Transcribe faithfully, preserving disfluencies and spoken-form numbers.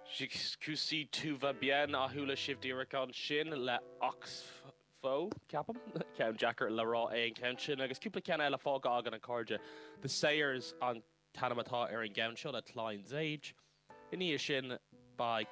Jusqu'ici tout va bien a chuala sibh díreach ansin le Oxfo ceapaim ceann deacair le rá é an ceann sin agus cúpla ceann eile fágtha againn a chairde. The Sayers an t-ainm atá ar an gceann seo le Klein's Age. Ina dhiaidh sin ba